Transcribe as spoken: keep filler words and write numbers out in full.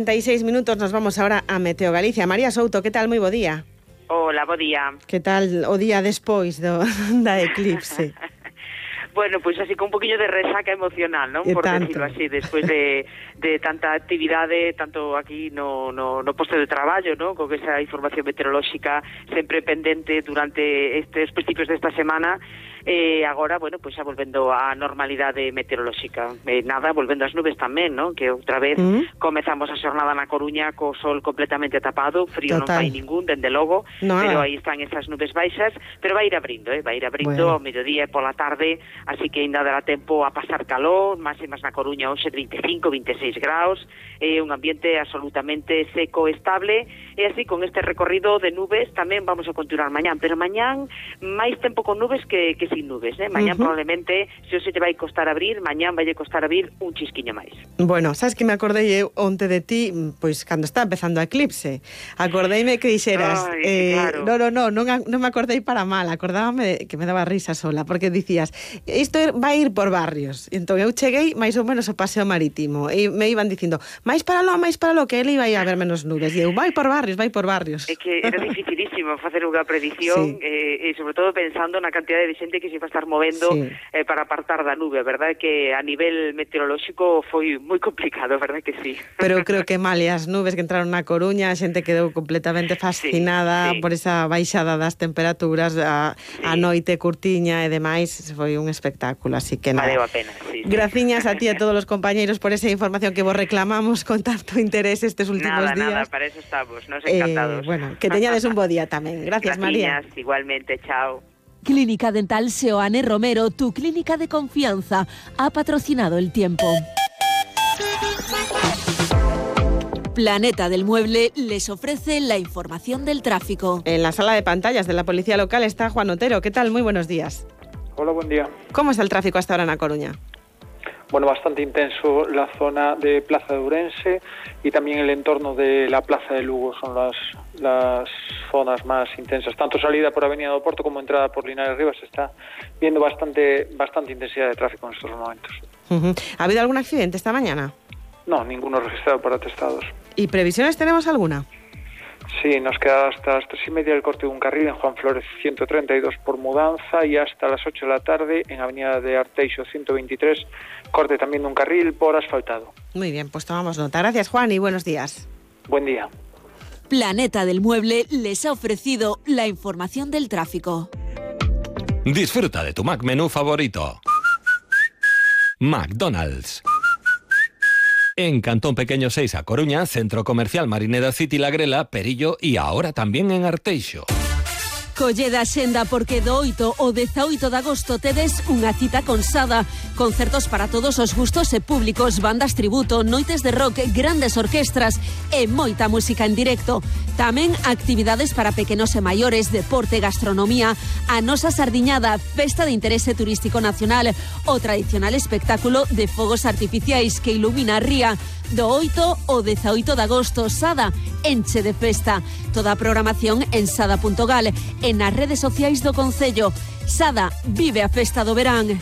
treinta y seis minutos, nos vamos ahora a Meteo Galicia. María Souto, que tal? Moi bo día. Hola, bo día. Que tal o día despois do, da eclipse? Bueno, pois pues así con un poquillo de resaca emocional, non? E Por tanto. decirlo así, despois de, de tanta actividade, tanto aquí no, no, no posto de traballo, non? Con esa información meteorolóxica sempre pendente durante estes principios desta semana, e agora, bueno, pois pues xa volvendo á normalidade meteorolóxica. E nada, volvendo ás nubes tamén, non? Que outra vez mm. comezamos a xornada na Coruña co sol completamente tapado, frío Total. Non fai ningún, dende logo, no, pero aí están esas nubes baixas, pero vai ir abrindo, eh? vai ir abrindo bueno. ao mediodía e pola tarde, así que ainda dará tempo a pasar calor, máximas na Coruña hoxe de vinte e cinco, vinte e seis graus, é un ambiente absolutamente seco, estable, e así con este recorrido de nubes tamén vamos a continuar mañán, pero mañán máis tempo con nubes que, que sin nubes, eh? Mañán uh-huh. probablemente, se hoxe te vai costar abrir, mañán vai costar abrir un chisquiño máis. Bueno, sabes que me acordei eu onte de ti, pois cando está empezando a eclipse, acordeime que dixeras, Ay, eh, claro. no, no, no, non, non me acordei para mal, acordábame que me daba risa sola, porque dicías, isto vai ir por barrios, e entón eu cheguei máis ou menos ao paseo marítimo, e me iban dicindo, máis para lo, máis para lo, que ele iba a haber menos nubes, e eu, vai por barrios, vai por barrios. É que era dificilísimo facer unha predición, sí. eh, e sobre todo pensando na cantidade de xente que se va a estar movendo sí. eh, para apartar da nube, verdad que a nivel meteorolóxico foi moi complicado, verdad que sí. Pero creo que mal, e as nubes que entraron na Coruña, a xente quedou completamente fascinada sí, sí. por esa baixada das temperaturas, a, sí. a noite curtiña e demais, foi un espectáculo, así que nada. Valeu a pena, sí. Graciñas a ti e a todos os compañeiros por esa información que vos reclamamos con tanto interés estes últimos nada, días. Nada, nada, para eso estamos, nos encantados. Eh, bueno, que teñades un bo día tamén. Gracias, María. Graciñas, igualmente, chao. Clínica Dental Seoane Romero, tu clínica de confianza, ha patrocinado el tiempo. Planeta del Mueble les ofrece la información del tráfico. En la sala de pantallas de la Policía Local está Juan Otero. ¿Qué tal? Muy buenos días. Hola, buen día. ¿Cómo está el tráfico hasta ahora en A Coruña? Bueno, bastante intenso la zona de Plaza de Ourense y también el entorno de la Plaza de Lugo son las, las zonas más intensas. Tanto salida por Avenida do Porto como entrada por Linares Rivas se está viendo bastante, bastante intensidad de tráfico en estos momentos. Uh-huh. ¿Ha habido algún accidente esta mañana? No, ninguno registrado para atestados. ¿Y previsiones tenemos alguna? Sí, nos queda hasta las tres y media el corte de un carril en Juan Flores ciento treinta y dos por mudanza y hasta las ocho de la tarde en Avenida de Arteixo ciento veintitrés, corte también de un carril por asfaltado. Muy bien, pues tomamos nota. Gracias, Juan, y buenos días. Buen día. Planeta del Mueble les ha ofrecido la información del tráfico. Disfruta de tu Mac menú favorito. McDonald's. En Cantón Pequeño seis A Coruña, Centro Comercial Marineda City La Grela, Perillo y ahora también en Arteixo. Colleda Senda porque do oito ao dezaoito de agosto tedes unha cita con Sada. Concertos para todos os gustos e públicos, bandas tributo, noites de rock, grandes orquestras e moita música en directo. Tamén actividades para pequenos e maiores, deporte, gastronomía, a nosa sardiñada, festa de interese turístico nacional, o tradicional espectáculo de fogos artificiais que ilumina a ría. Do oito ao dezaoito de agosto, Sada, enche de festa. Toda a programación en sada punto gal e nas redes sociais do Concello. Sada, vive a festa do verán.